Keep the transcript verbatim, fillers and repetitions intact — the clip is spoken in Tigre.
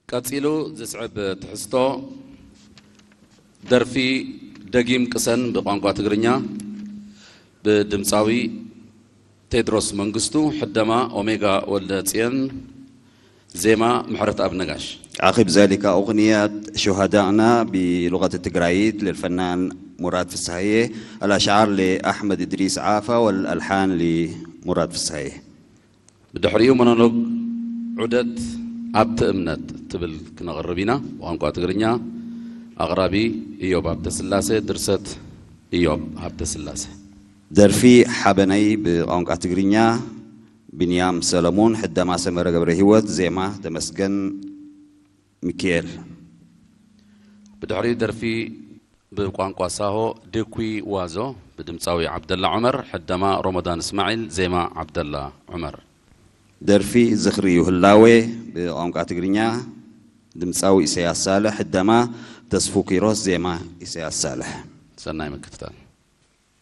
ቀጺሉ ዝስዕብ ትሕዝቶ፣ ደርፊ ደጊም ቅሰን ብቋንቋ ትግርኛ ብድምጻዊ ቴድሮስ መንግስቱ፣ ሕደማ ኦሜጋ ወልደጽየን፣ ዜማ ምሕረተኣብ ነጋሽ። عقب ذلك أغنية شهدائنا بلغة التجرايت للفنان مراد فسحية، الأشعار لأحمد إدريس عافا والألحان لمراد فسحية. ብድሕሪኡ ሞኖሎግ ዑደት ኣብቲ እምነት ትብል ክነቕርብ ኢና። ብቋንቋ ትግርኛ፣ ኣቕራቢ ኢዮብ ሃብተስላሴ፣ ድርሰት ኢዮብ ሃብተስላሴ። ደርፊ ሓበነይ ብቋንቋ ትግርኛ ብንያም ሰለሙን፣ ሕደማ ሰመረ ገብረሂወት፣ ዜማ ተመስገን ሚኪኤል። ብድሕሪኡ ደርፊ ብቋንቋ ሳሆ፣ ዴኩ ዋዞ፣ ብድምጻዊ ዓብደላ ዑመር፣ ሕደማ ሮሞዳን እስማዒል፣ ዜማ ዓብደላ ዑመር። ደርፊ ዝኽሪ እዩ ህላዌ፣ ብቋንቋ ትግርኛ፣ ድምጻዊ ኢሳያስ ሳልሕ፣ ሕደማ ተስፉ ኪሮስ፣ ዜማ ኢሳያስ ሳልሕ። ሰናይ ምክትታል።